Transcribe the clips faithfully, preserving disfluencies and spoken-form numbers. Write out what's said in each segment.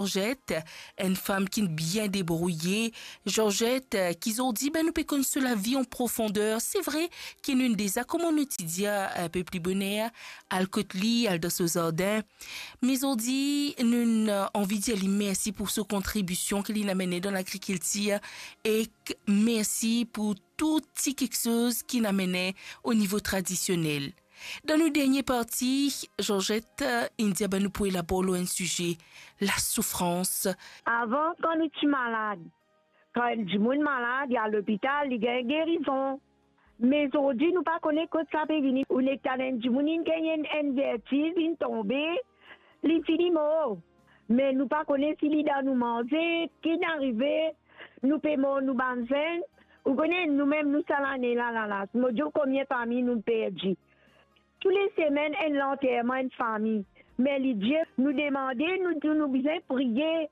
Georgette, enn fam ki bien debrouye. Georgette, eh, ki zordi, be, nou pe konn so lavi an profonder. Se vre ki nou deza, kouma nou ti dir, eh, enn pe pli boner, al kot li, al dan so zardin. Me zordi, nou, eh, anvi dir li mersi pou so kontribision ki li inn amene dan lagrikiltir, ek mersi pou tou ti kiksoz ki inn amene o nivo tradisionel. Dan nou dernie parti, Georgette, eh, inn dir, be, nou pou elabor lor enn size, lasoufrans. Avan, kan nou ti malad, kan enn dimoun malad, li al lopital, li gagn gerizon. Me zordi, nou pa kone kot sa pe vini. Ou nek tann enn dimoun inn gagn enn, enn vertiz, inn tonbe, li fini mor. Me nou pa kone si li dan nou manze, ki inn arive, nou pe mor nou bann zenn. Ou kone, nou mem, nou sa lane la, la, la, mo dir ou konbien fami nou perdi. Tou le semenn, enn lanterman enn fami. Me li dir, nou demande, nou dir, nou bizin priye.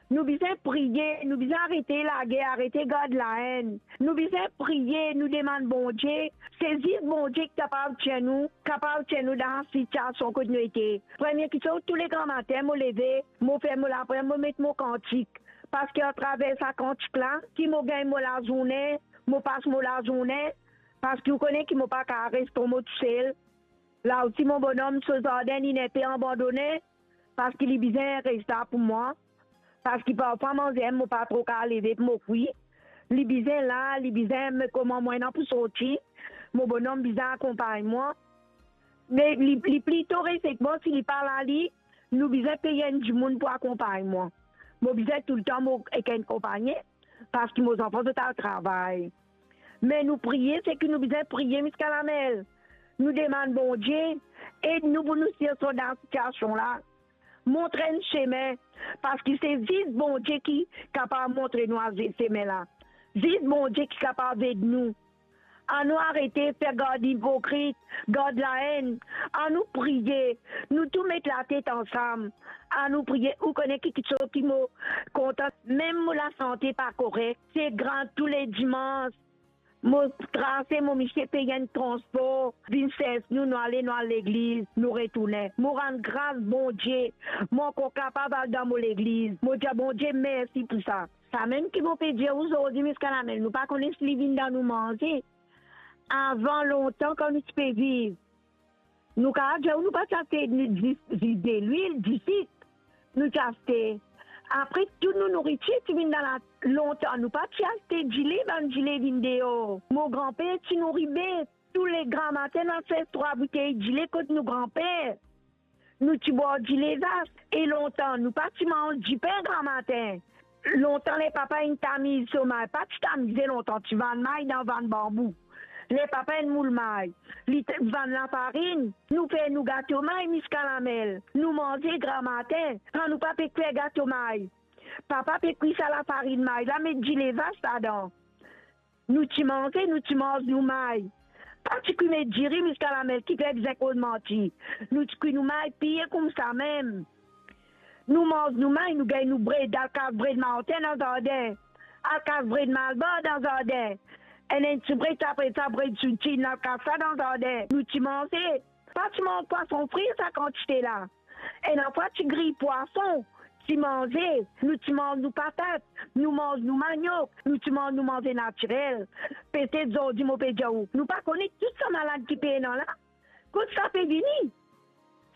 Nou bizin priye, nou bizin arete lager, arete gard laenn. Nou bizin priye, nou demann Bondie. Se zis Bondie ki kapav tir nou, kapav tir nou dan sitiasion kot nou ete. Premie kiksoz, tou le gramatin, mo leve, mo fer mo lapriyar, mo met mo kantik. Parski atraver sa kantik la, ki mo gagn mo lazourne, mo pas mo lazourne, parski ou kone ki mo pa kapav res kouma tousel. La osi, mo bonom, so zardin, li enn pe abandone, parski li bizin res la pou mwa, parski parfwa manze, mo pa tro kapav leve pou mo kwi. Li bizin la, li bizin me kouma mwa ena pou sorti. Mo bonom bizin akonpagn mwa. Me li, li plito res ek mwa, si li pa la li, nou bizin pey enn dimoun pou akonpagn mwa. Mo bizin toultan mo ek enn konpagnie, parski mo zanfan zot al travay. Me nou priye, seki nou bizin priye ziska lamel. Nou demann Bondie, ed nou pou nou sort dan sitiasion la. Montre nou semin, parski se zis Bondie ki kapav montre nou a se-, semin la. Zis Bondie ki kapav ed nou. Anou arete fer gard ipokrit, gard laenn. Anou priye, nou tou met latet ansam. Anou priye, ou kone ki kiksoz ki mo kontan, mem mo lasante pa korek. Se gran tou le dimans. Mo trase mo misie pey enn transpor, vinn sers nou, nou ale, nou al legliz, nou retourne. Mo rann gras Bondie, mo ankor kapav al dan mo legliz. Mo dir Bondie mersi pou sa. Samem ki mo pe dir ou zordi ziska lamel, nou pa kone si li vinn dan nou manze. Avan lontan, kan nou ti pe viv, nou kapav dir ou nou pa ti aste ni zis, zis delwil, disik, nou ti aste. Apre, tou nou nouritir ti vinn dan la, lontan, nou pa ti aste dile, bann dile vinn deor. Mo granper ti nouri bet, tou le gramatin, nou al sers trwa boutey dile kot nou granper. Nou ti bwar dile vas, e lontan, nou pa ti manz dipin gramatin. Lontan, ler papa inn tamiz so may, pa ti tamize lontan, ti vann may dan vann banbou. Ler papa inn moul may, li ti vann lafarinn, nou fer nou gato may ziska lamel. Nou manze gramatin, kan nou pa pe kwi gato may, papa pe kwi sa lafarinn may la, met dile vas ladan. Nou ti manze, nou ti manz nou may. Pa ti kwi met diri ziska lamel, kifer bizin koz manti. Nou ti kwi nou may pie koumsa mem. Nou manz nou may, nou gagn nou bred, al kas bred martin dan zardin. Al kas bred malbar dan zardin. Enn, enn ti bred, apre sa bred soutinn, al kas sa dan zardin. Nou ti manze. Pa ti manz pwason fri sa kantite la. Ena fwa ti griy pwason, ti manze, nou ti manz nou patat, nou manz nou maniok, nou ti manz nou manze natirel. Petet zordi mo pe dir ou, nou pa kone tou sa malad ki pena la. Kot sa pe vini?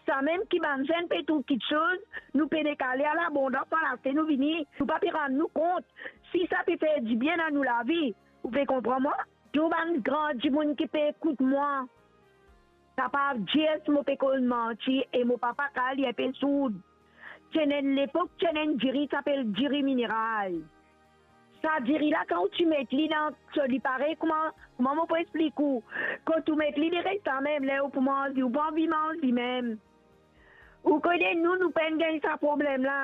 Samem ki bann zenn pe trouv kiksoz, nou pena kale a labondans, al aste nou vini, nou pa pe rann nou kont si sa pe fer dibien dan nou lavi. Ou pe konpran mwa? Tou bann gran dimoun ki pe ekout mwa, kapav dir si mo pe koz manti e mo papa kapav li enpe sourd. Ti ena enn lepok, ti ena enn diri, ti apel diri mineral. Sa diri la, kan ou ti met li dan so, li parey kouma, kouma mo pou explik ou, kot ou met li, li res samem, ler ou pou manz li, ou pa anvi manz li mem. Ou kone nou, nou pa'nn gagn sa problem la.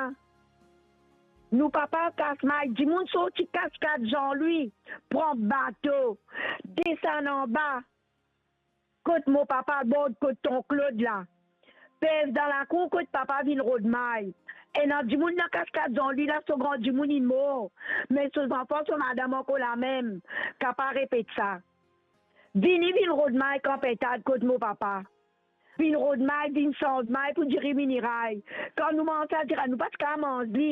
Nou papa kas may, dimoun sorti Kaskad Zanlwi, pran bato, desann anba, kot mo papa bord, kot ton Klod la. Pez dan lakour kot papa vinn rod may. Ena dimoun dan Kaskad Zanlwi la, so gran dimoun inn mor, me so zanfan, so madam ankor lamem, kapav repet sa. Vini vinn rod may Kanpintad kot mo papa. Vinn rod may, vinn sanz may pou diri mineral. Kan nou manz sa diri, nou pa ti kapav manz li.